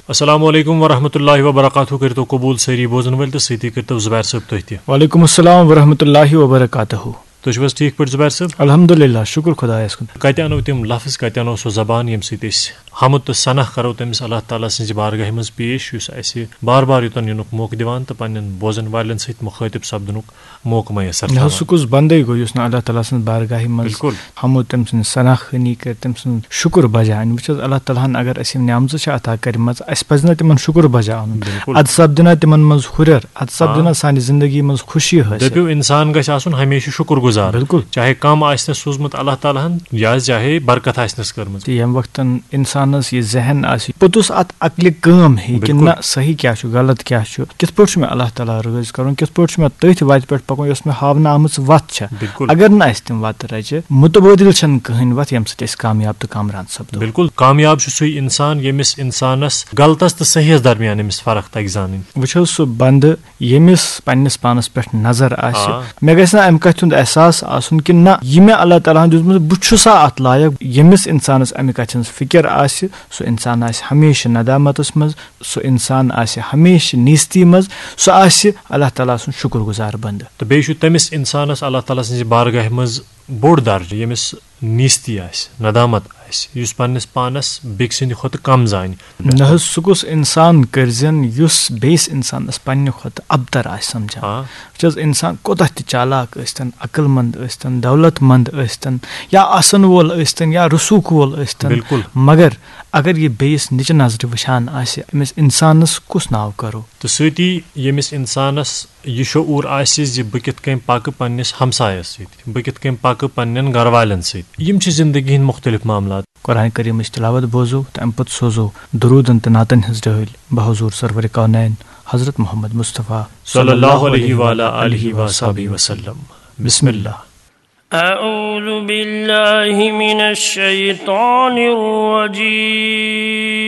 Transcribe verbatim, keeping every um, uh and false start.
السلام علیکم ورحمۃ اللہ وبرکاتہ۔ کٔرتو قبول سٲری بوزن وٲلۍ تہٕ سۭتی کٔرتو زبیر صٲب تُہۍ تہِ۔ وعلیکم السلام ورحمۃ اللہ وبرکاتہ۔ تُہۍ چھِو حظ ٹھیٖک پٲٹھۍ زبیر صٲب؟ الحمدللہ، شُکُر خۄدایَس کُن۔ کتہِ انو تِم لفظ، کتہِ انو سۄ زبان، ییٚمہِ سۭتۍ أسۍ حمد تہٕ ثنا کرو تٔمِس اللہ تعالیٰ سٕنٛزِ بارگاہہِ منٛز پیش، یُس اسہِ بار بار یوٚتن یِنُک موقعہٕ دِوان تہٕ پننٮ۪ن بوزن والٮ۪ن سۭتۍ مُخٲطب سپدنُک موقعہٕ میسر نہ حظ، تھاوان۔ سُہ کُس بندے گوٚو یُس نہٕ اللہ تعالیٰ سٕنٛز بارگاہہِ منٛز بِلکُل۔ حمد تٔمۍ سٕنٛز ثنا خوٲنی کرِ، تٔمۍ سُنٛد شُکُر بجا انہِ۔ وٕچھ حظ، اللہ تعالیٰ ہن اگر اسہِ یِم نعمژٕ چھِ عطا کٔرمٕژ، اسہِ پزِ نہ تِمن شُکُر بجا انُن؟ بِلکُل۔ ادٕ سپدِ نہ تِمن منٛز ہُرٮ۪ر، ادٕ سپدِ آ۔ نہ سانہِ زندگی منٛز خوشی حٲصِل؟ دٔپِو، انسان گژھِ آسُن ہمیشہِ شُکُر گُزار۔ بِلکُل۔ چاہے کم آسہِ نہٕ سوٗزمُت اللہ تعالیٰ ہن، یا چاہے برکت آسہِ نس کٔرمٕژ۔ تہٕ ییٚمہِ وقتن انسانس یہِ ذہن آسہِ، پوٚتُس اتھ عقلہِ کٲم ہیٚیہِ کہِ بِلکُل۔ نہ، صحیح کیٛاہ چھُ، غلط کیٛاہ چھُ، کِتھ پٲٹھۍ چھُ مےٚ اللہ تعالیٰ رٲضۍ کرُن، کِتھ پٲٹھۍ چھُ مےٚ تٔتھۍ وتہِ پٮ۪ٹھ پکُن یۄس مےٚ ہاونہٕ آمٕژ وتھ چھےٚ۔ بِلکُل۔ اگر نہٕ اسہِ تِم وتہٕ رچہِ، متبٲدِل چھنہٕ کٕہٕنۍ وتھ ییٚمہِ سۭتۍ أسۍ کامیاب تہٕ کامران سپدو۔ بِلکُل، کامیاب چھُ سُے انسان ییٚمِس انسانس غلطس تہٕ صحیحس درمیان أمِس فرق تگہِ زانٕنۍ۔ وٕچھ حظ، سُہ بندٕ ییٚمِس پننِس پانس پٮ۪ٹھ نظر آسہِ، آ۔ مےٚ گژھِ نہ امہِ کتھِ ہُنٛد احساس آسُن کہِ نہ، یہِ مےٚ اللہ تعالیٰ ہن دیُتمُت، بہٕ چھُسا اتھ لایق۔ ییٚمِس انسانس امہِ کتھِ ہٕنٛز فکر آسہِ، سُہ انسان آسہِ ہمیشہِ ندامتس منٛز، سُہ انسان آسہِ ہمیشہِ نیستی منٛز، سُہ آسہِ اللہ تعالیٰ سُنٛد شُکُر گُزار بندٕ۔ تہٕ بیٚیہِ چھُ تٔمِس انسانس اللہ تعالیٰ سٕنٛزِ بارگاہہِ منٛز بوٚڑ درجہٕ، ییٚمِس نیستی آسہِ، ندامت آسہِ، یُس پننِس پانس بیٚکہِ سٕنٛدِ کھۄتہٕ کم زانہِ۔ نہ حظ، سُہ گوٚژھ انسان کٔرزٮ۪ن یُس بیٚیِس انسانس پننہِ کھۄتہٕ ابتر آسہِ سمجھان۔ آ۔ وٕچھ حظ، انسان کوتاہ تہِ چالاک ٲسۍتن، عقل مند ٲسۍتن، دولت مند ٲسۍتن، یا آسن وول ٲسۍتن، یا رسوخ وول ٲسۍتن، بِلکُل۔ مگر اگر یہِ بیٚیِس نِچہِ نظرِ وٕچھان آسہِ، أمِس انسانس کُس ناو کرو؟ تہٕ سۭتی ییٚمِس انسانس یہِ شعوٗر آسہِ زِ بہٕ کِتھ کٔنۍ پکہٕ پننِس ہمسایس سۭتۍ، بہٕ کِتھ کٔنۍ پکہٕ پننٮ۪ن گرٕ والٮ۪ن سۭتۍ، یِم چھِ زندگی ہٕنٛدۍ مُختلف معاملات۔ قرآن کریمٕچ تلاوت بوزو تہٕ امہِ پتہٕ سوزو درودن تہٕ نعتن ہٕنٛز ڈٲلۍ بحضور سرور کونین حضرت محمد مصطفیٰ صلی اللہ علیہ وعلی آلہ وصحبہ وسلم۔ بسم اللہ۔ أعوذ بالله من الشيطان الرجيم.